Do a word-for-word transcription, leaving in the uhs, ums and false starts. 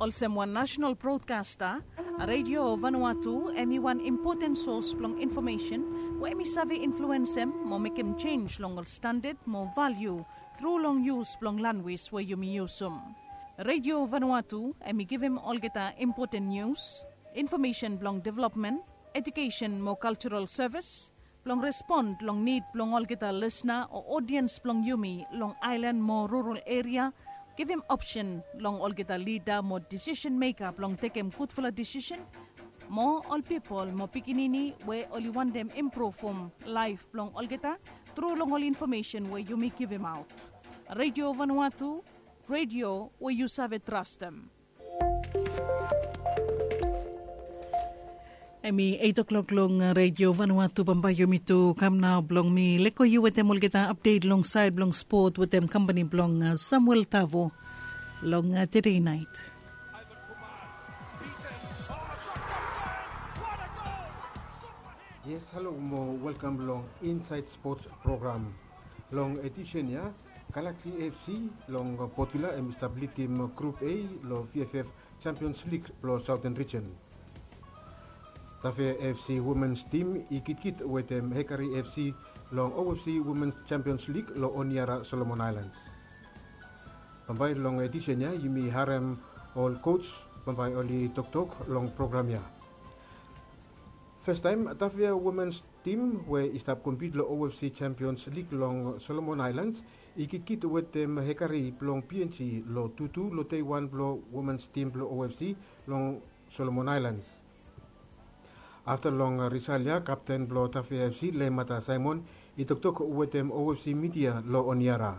Olsem wan nasenal brodkasta, Redio Vanuatu em i wan impoten sos blong infomesen we em i save influensem mo mekem jenj long ol standad mo valiu tru long yus blong lanwis we yumi yusum. Redio Vanuatu em i givim olgeta impoten nius, infomesen blong developmen, ejukesen mo kaljaral sevis, blong respon long nid blong olgeta lisna o odiens blong yumi long aelan mo rural eria, givim opsen long olgeta lida mo disisen meka blong tekem gudfala disisen, mo ol pipol mo pikinini we oli wantem impruvum laef blong olgeta tru long ol infomesen we yumi givimaot. Redio Vanuatu, redio we yu save trastem. Em i eit o'klok long Redio Vanuatu. Bambae yumi tu kam nao blong mi leko yu wetem olgeta apdet long saed blong spot wetem kampani blong Samuel Tavo long tede nait. Yes, halo mo welkam long Insaed Spots program. Long edisen ya, Galaxy F C long Port Vila em i stap lidim Grup A long V F F Champions League blong Southern Region. Tafea F C Women's Team i kitkit wetem Hekari F C long O F C Women's Champions League long Honiara, Solomon Islands. Bambae long edisen ya yumi harem ol coach bambae oli toktok long program ya. Fastaem, Tafea Women's Team we i stap kompit long O F C Champions League long Solomon Islands i kitkit wetem Hekari blong P N G long tu tu long dei wan blong Women's Team blong O F C long Solomon Islands. Afta long risal ya, kapten blong Tafea F C, Lemata Simon, i toktok wetem O F C midia long Honiara.